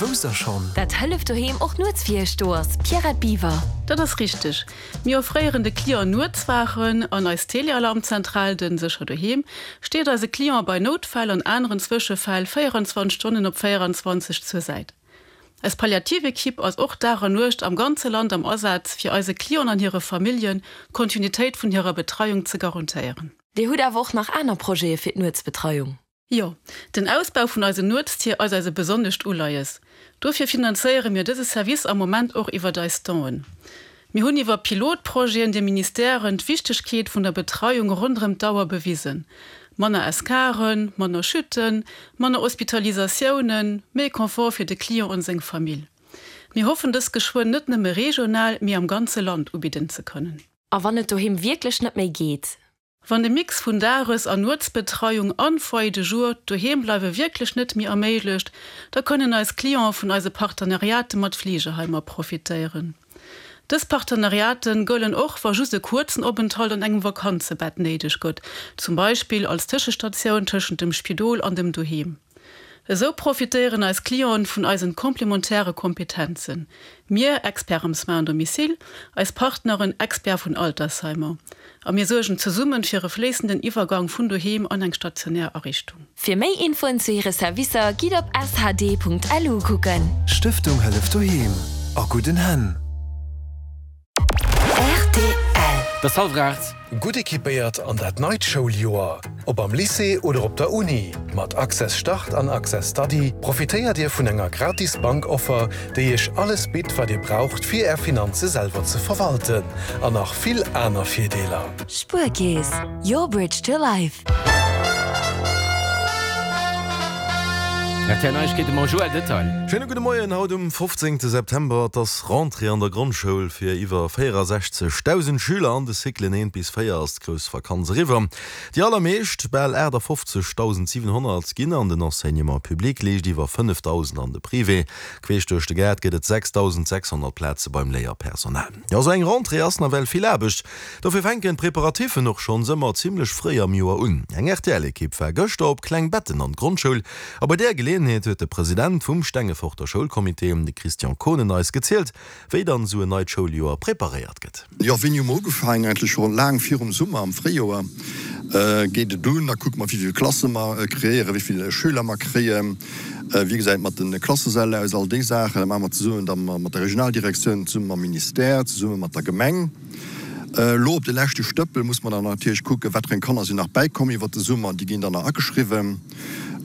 Wousst der schonn? Dat Hëllef Doheem och nuets fir iech do ass, Pierrette Biwer. Dat ass richteg. Mir offréieren de Client Nuetswaachen an eis Telealarmzentral, den Sécher Doheem, steet eise Cliente bei Noutfäll an aneren Zwëschefäll 24 Stonnen op 24 zur Säit. Eis Palliativequipe ass och Dag an Nuecht am ganze Land am Asaz, fir eise Clienten an hire Familljen d'Kontinuitéit vun hirer Betreiung ze garantéieren. Dir hutt awer och nach aner Projete fir d'Nuetsbetreiung? Jo, den Ausbau vun eisen Nuetstier ass eis e besonnescht Uleies. Dofir finanzéiere mir dëse Service am Moment och iwwert eis Don'en. Mir hunn iwwer Pilotprojeten de Ministèren d'Wichtegkeet vun der Betreiung ronderëm d'Auer bewisen, manner Escaren, manner Chuten, manner Hospitalisatiounen, méi Confort fir de Client an seng Famill. Mir hoffen dës geschwënn net nëmme regional, mee am ganze Land ubidden ze kënnen. A wann et doheem wierklech net méi geet? Wann de Mix vun Dages an Nuetsbetreiung an Foyer de jour d'Doheembleiwe wierklech net méi erméiglecht, da kënnen eis Clienten vun eise Partenariate mat Fleegeheimer profitéieren. Dës Partenariate gëllen och, wa just e kuerzen Openthalt an engem Vakanzebett néideg gëtt, zum Beispill als Tëschestatioun tëschent dem Spidol an dem Doheem. Esou profitéieren eis Clienten vun eisen komplementäre Kompetenzen, mir, Experts am Soins à domicile, eis Partneren, Experts vun Altersheimer, a mir suergen zesummen fir e fléissenden Iwwergang vun doheem an eng stationär Ariichtung. Fir méi Infoen zu hire Servicer gitt op shd.lu kucken. Stëftung Hëllef Doheem, a gudden Hänn! Rtl. Et ass hallwer 8. Gutt equipéiert an dat neit Schouljoer, ob am Lycée oder op der Uni, mat Access Start an Access Study profitéiert Dir vun enger gratis Bankoffer, déi Iech alles bitt, wat Dir braucht, fir Är Finanze selwer ze verwalten, an nach vill aner Virdeeler. Spuerkeess, your bridge to life. RTL Neiegkeete mam Joël Detail. Schéine gudde Moien. Haut um 15 September, et ass Rentrée an der Grondschoul. Fir iwwer 64.000 Schüler an de Cyclen 1 bis 4 ass d'grouss Vakanz eriwwer. Déi allermeescht, bal 58.700, ginn an den Enseignement public, liicht iwwer 5.000 an de Privé. Queesch duerch de Gaart gëtt et 6.600 Plaze beim Léierpersonal. Jo, sou eng Rentrée ass nawell vill Aarbecht. Dofir fänken d'Preparatiffen och schonns ëmmer zimmlech fréi am Joer un. Eng RTL-Ekipp war gëschter op Klengbetten an d'Grondschoul a bei där Geleeënheet huet de President vum Stengeforter Schoulcomité, de Christian Kohnen, eis gezielt, wéi dann esou en neit Schouljoer preparéiert gëtt. Jo, wéini hu mer ugefaangen? Eigentlech scho laang virum Summer, am Fréijoer geet et un. Da kucke mer, wéi vill Klasse mer kreéieren, wéi vill Schüler mer kréien. Wéi gesäit et mat de Klassesäll aus? All déi Saachen, dat maache mer zesummen da mat der Regionaldirektioun, zesumme mam Ministère, zesumme mat der Gemeng. Elo op de leschte Stëppel muss mer dann natierlech kucken, wat fir eng Kanner sinn nach bäikomm iwwert de Summer. Déi ginn dann nach ageschriwwen.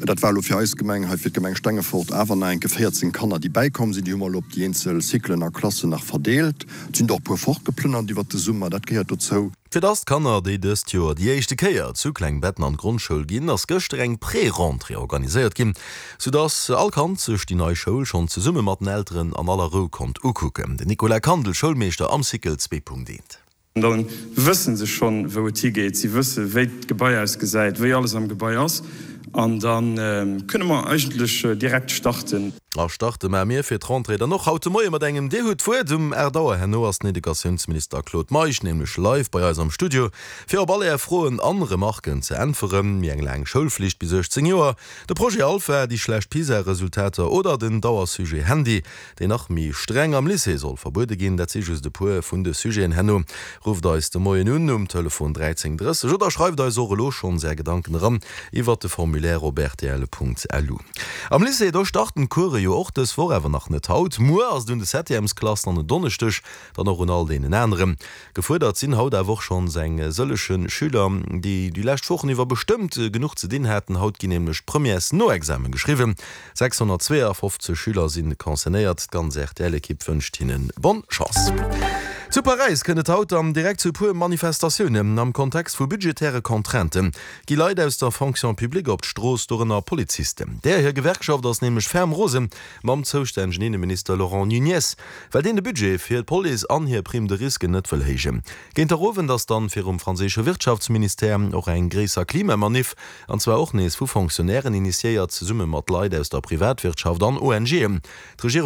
Dat war elo fir eis Gemeng hei, fir d'Gemeng Stengefort, awer nach enke 14 Kanner, déi bäikomm sinn. Déi hu mer elo op déi eenzel Cyclen a Klassen nach verdeelt. Et sinn der och e puer fortgeplënnert iwwert de Summer, dat gehéiert dozou. Fir dass d'Kanner, déi dëst Joer déi éischte Kéier zu Klengbetten an d'Grondschoul ginn, ass gëschter eng Pré-Rentrée organiséiert ginn, sou dass all Kand sech déi nei Schoul schonn zesumme mat den Elteren an aller Rou konnt ukucken. Den Nicolas Kandel, Schoulmeeschter am Cycle 2.1. Da wësse se schonn, wou et higeet. Si wësse wéi d'Gebai ausgesäit, wéi alles am Gebai ass. An da kënne mer eigentlech direkt starten. A starte maache mir fir d'Rentrée dann och haut de Moie mat engem Dir hutt d'Wuert. Um 8 Auer herno ass den Educatiounsminister Claude Meisch nämlech live bei eis am Studio, fir op all Är Froen an Remarken ze äntweren. Méi eng laang Schoulflicht bis 18 Joer, de Projet Alpha, déi schlecht PISA-Resultater oder den Dauersujet Handy, deen nach méi streng am Lycée soll verbuede ginn, dat si just e puer vun de Sujeten. Herno rufft eis de Moien un um Telefon 13 30 oder schreift eis och elo schonns är Gedanken eran iwwert de Formulaire op rtl.lu. Am Lycée, do starten d'Course jo och dës Woch, awer nach net haut. Muer ass et un de Septièmesklassen an en Donneschdeg dann och un all deenen aneren. Gefuerdert sinn haut awer och schonns eng sëllege Schüler, déi déi lescht Wochen iwwer bestëmmt genuch ze dinn haten. Haut ginn nämlech d'Premièresnoexame geschriwwen. 652 Schüler si concernéiert. D'ganz RTL-Ekipp wënscht hinne bonne Chance. Zu Paräis kënnt et haut dann direkt zu e puer Manifestatiounen. Am Kontext vu budgetäre Contraintë gi Leit aus der Fonction publique op d'Strooss, dorënner Polizisten. Där hir Gewerkschaft ass nämlech ferm rose mam zoustännegen Inneminister Laurent Nunez, well deen de Budget fir d'Police an hir Prime de risque net wëll héijen. Géint der Owend ass dann virum franséische Wirtschaftsministère och eng gréisser Klimamaniff An zwar och nees vu Fonctionnairen initiéiert, zesumme mat Leit aus der Privatwirtschaft an ONGen. D'Regierung.